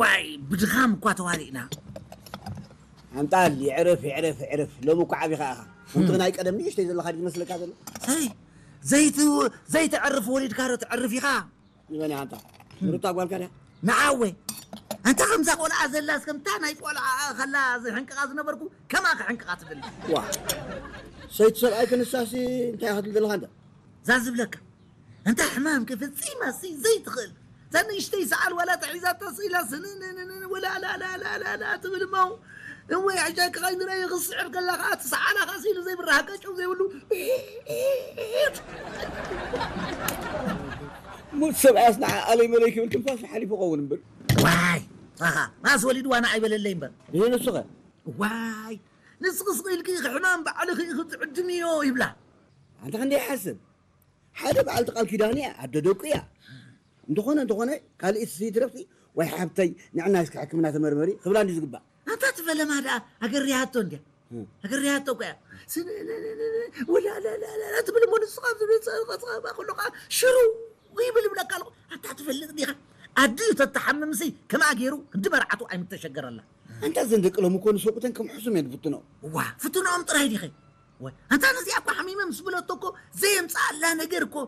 ዋይ ብድኻም እኳ ተዋሪእና። ኣንጣል ይዕረፍ ይዕረፍ ይዕረፍ። ሎሚ እኮ ዓቢኻ ኢኻ። ከምቲ ናይ ቀደም ንእሽተይ ዘለኻ ድዩ ዝመስለካ ዘሎ? ሰይ ዘይት ዘይተዕርፍ ወሊድካ ዶ ትዕርፍ ኢኻ? ንመን ኢኻ ኣንታ? ንሩታ ጓልካ ድያ? ንዓወ ኣንታ ከምዛ ቆልዓ ዘላስ ከምታ ናይ ቆልዓ ከላ ዝሕንቅቓ ዝነበርኩ ከማ ክሕንቅቓ ትደሊ። ዋ ሰይቲ ሰብኣይ ክንሳሲ እንታይ ኢኻ ትብል ዘለኻ ኣንታ? እዛ ዝብለካ እንታ ሕማም ክፍጺማ ሲ ዘይትኽእል እዛ ንእሽተይ ሰዓል ዋላ ተሒዛታ ስኢላ ስንንንንን ወላ ላላላላላ ትብል እሞ እወ ሕጃ ክኸይድረየ ክስዕር ከላ ከዓ እቲ ሰዓላ ከዓ ስኢሉ ዘይብራሃ ቀጨው ዘይብሉ ሙት ሰብኣያስ ንዓ ኣለይ መለይ ክብል ትንፋሱ ሓሊፉ ኸውን እምበር። ዋይ ኣኻ ማስ ወሊድዋ ንዓይ በለለይ እምበር። ይህ ንሱኸ? ዋይ ንስኽስኺ ኢልኪ ሕማም ባዕልኺ ኢኺ ትዕድምዮ ይብላ። ኣንተ ክንደይ ሓስብ ሓደ በዓልቲ ቃል ኪዳን እያ ኣደ ደቁ እያ። እንተኾነ እንተኾነ ካልእ ስይትረፍቲ ወይ ሓብተይ ንዕና እስኪ ሕክምና ተመርመሪ ክብላ እንዲ ዝግባእ። ኣንታ ትፈለማ ደኣ ኣገርያቶ እንድያ ኣገርያቶ እኮ እያ። ስንንንንን ወላላላላ ትብል እሞ ንስኻ ኣብ ዝብል ጸቕጸቕባ ከሎ ከዓ ሽሩ ይብል ይብለካ ኣለኹ። ኣንታ ትፈልጥ ዲኻ ኣዲኡ ተተሓምምሲ ከመኣ ገይሩ ክንዲ መርዓቱ ኣይምተሸገረላ። ኣንታ ዘን ደቂ ሎሚ እኮ ንሰብኡተን ከም ሕሱም እየን ዝፍትኖ። እዋ ፍትኖኦም ጥራይ ዲኸ? ወይ ኣንታ ነዚኣ እኮ ሓሚመ ምስ ብለቶ እኮ ዘየምፅኣላ ነገር እኮ